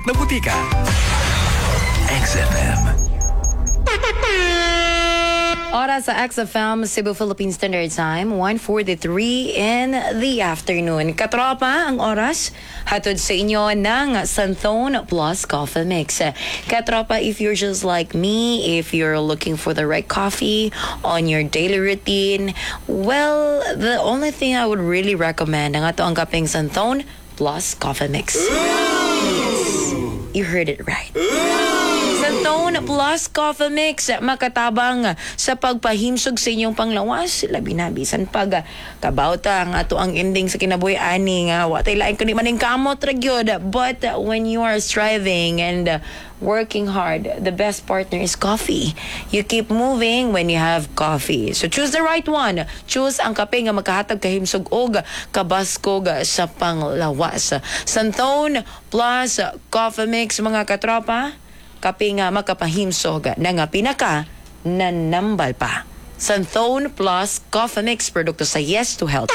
Na butika. XFM. Oras sa XFM Cebu, Philippine Standard Time, 1:43 in the afternoon. Katropa, ang oras, hatod sa inyo ng Santhone Plus Coffee Mix. Katropa, if you're just like me, if you're looking for the right coffee on your daily routine, well, the only thing I would really recommend ang ato ang kapeng Santhone Plus Coffee Mix. You heard it right. Santhone Plus Coffee Mix, makatabang sa pagpahimsog sa inyong panglawas, labi na bisan pag kabawta ang ato ang ending sa kinabuhi ani nga wa tay lain kundi maning kamot ra gyud. But when you are striving and working hard, the best partner is coffee. You keep moving when you have coffee. So choose the right one. Choose ang kape nga makahatag kahimsog og kabaskog sa panglawas. Santhone Plus Coffee Mix, mga katropa, kape nga makapahimsog na nga pinaka nanambal pa. Santhone Plus Coffee Mix, produkto sa Yes to Health.